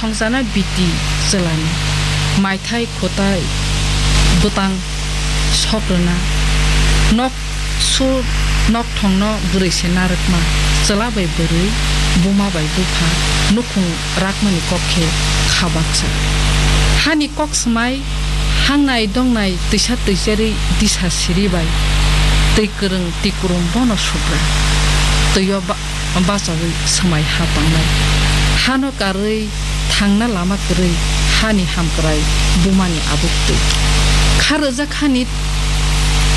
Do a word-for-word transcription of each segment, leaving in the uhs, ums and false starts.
Khongjana biti chwlani maithai khwtai bwtang sok rwna, nok sur nokthongno bwrwi se narwkma, chwla bai bwrwi, buma bai bupha nukhung rakmani kok khe kha baksa. Hani kok swmai, hangnai dongnai twisa twicherwi disa siri bai twi kwrwng twi kwrwng bono subra. Twio ba- bachaui swmai ha tongnai. Hano karwi thangna lama kwrwi hani hamkrai bumani abuk twi. Kha rwjak hani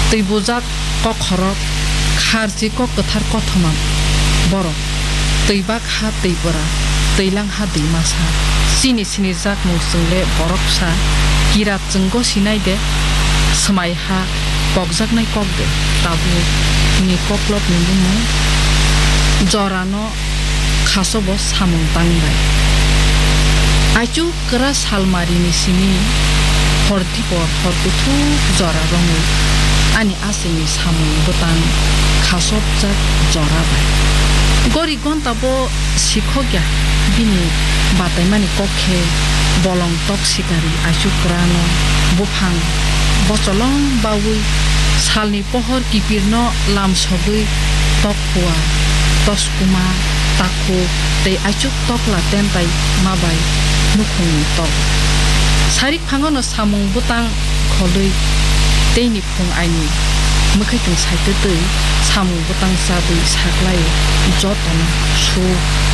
twi bujak kok khorok, kharchi kok kwthar kothoma borok. Twi bak ha twi bwra, twi lang ha twi masa. Chini sinijak mung chwng le borok bwsa, kirat chwng gosi nai de, swmai ha pokjaknai kok de, tabuk ni koklop ni bumung jorano khaso bo samung tang bai. Aichu kwra salmari ni simi hor dipor hor kuthuk jora romwi ani aswk ni samung bwtang khasopjak jora bai. Gori gonta bo sikhok ya, bini bataimani kok khe bolong tok sikari aichu kwrano buphang bocholong baui salni pohor kipirno lamsogwi tok khua, toskuma, takhuk tei aichuk tokla tentai ma bai nukhungni tok. Sarik phangono samung bwtang kholwi teini phung aini mwkhwitwng saitwtwi samung bwtang chabwi saklai jotono su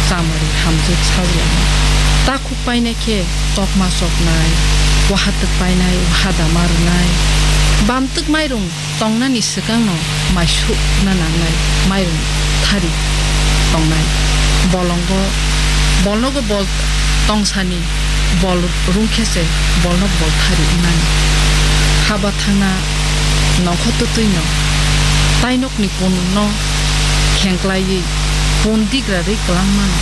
chamari hamjwk sajlani. Takhuk painai khe tokma choknai, wahatwk painai, wahadama rwnai, bamtwk mairung tongnani swkangno mai sukna nangnai, mairung thari tongnai. Bolongo, bolnogo bol tongsani bol rungkhe se bolno bol thari wngnani. Haba thangna nongkho twtwino tainokni punno khengklaiwi pun digra rwi kwlangmano.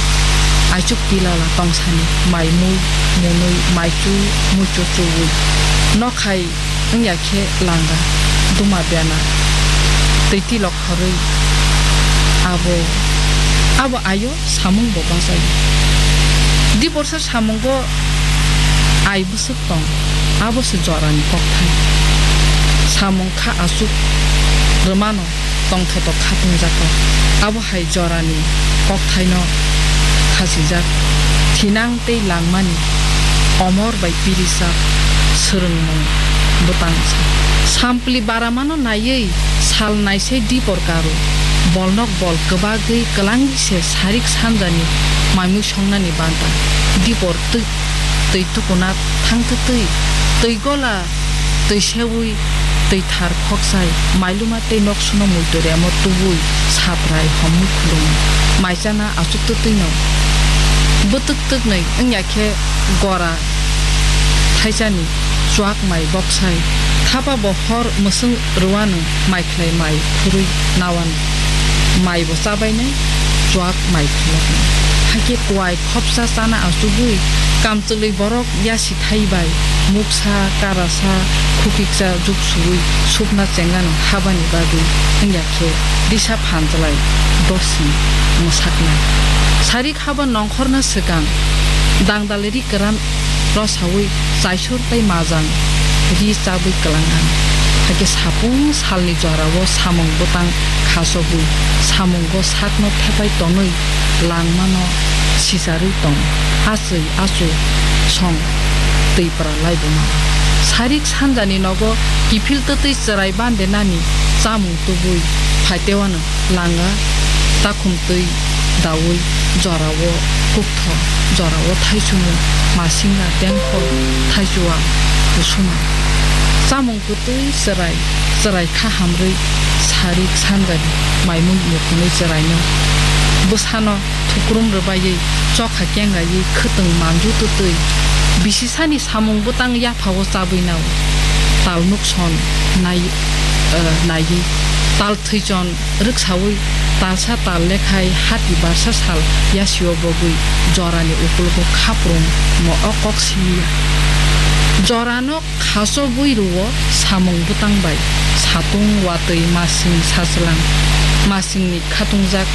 Aichuk pilala tongsani mai mui munui maichu muichu chuwi nokhai wngya khe langa duma bena twi tilok horwi abo, abo ayo samung bo bachaio. Diborsa samungo ai bwswk tong, abo se jorani kokthai. Samung kha aswk rwmano tongthotok khatungjak kok. Abo hai jorani kokthaino khachijak, thinang tei langmani omor bai pirijak swrwngmung bwtang sa. Sampli baramano naiwi sal naisai dipor karo, bolnok bol kwbagwi kwlangwi se sarik sanjani maimui songnani banta. Dipor twi twi tukuna thangtwtwi, twi gola twi seui, twi thar khoksai, mailuma tei noksuno muitu remo tubui, satrai homwi khulum, mai chana achuktwtwino. Bwtwk twknwi wngya khe gora thaisani chuak mai boksai, thapa bo hor mwswng rwano. Mai khlai mai khurui nawan mai bo chabainai, chuak mai khuloknai. Hakhe kuai khopsa chana achugwi kamchwlwi borok yasi thai bai muksa, karasa, khukiksa juk suwi supna chengano habani bagwi wngya khe disa phanjalai dosni mwsaknai. Sarik haba nongkhorna swkang dangdalwi ri kwran rosaui chaisor tei majang ri chabwi kwlangnani. Hakhe sapung salni jorao samung bwtang khachogwi samungo sakno thepai tonwi langmano sicharwi tong. Achwi achu song twi pra laibuma. Sarik sanjani nogo kiphil twtwi chwrai bandenani chamung tubui phaitewano. Langa takhum twi daui jorao kuktho, jorao thaichungo masinga tengkho thaichua kusuma. Chamung kwtwi chwrai, chwrai kha hamrwi sarik sanjani maimui mukhunwi chwraino bwsano thukrum rwbaiwi chokha kengaiwi khwtwng manju twtwi bisisani samung bwtang yaphao chabwi nao. Tal nukson nai, eh, naiwi tal thwichon rwksaui talsa tal lekhai hati barsa sal yasio bogwi jorani ukulugo khaprum mo o kok simiya. Jorano khaso bui rwo samung bwtang bai satung watwi masing sajlang masingni khatungjak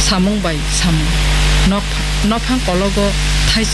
samung bai samung. Nok, nophang kologo thaisa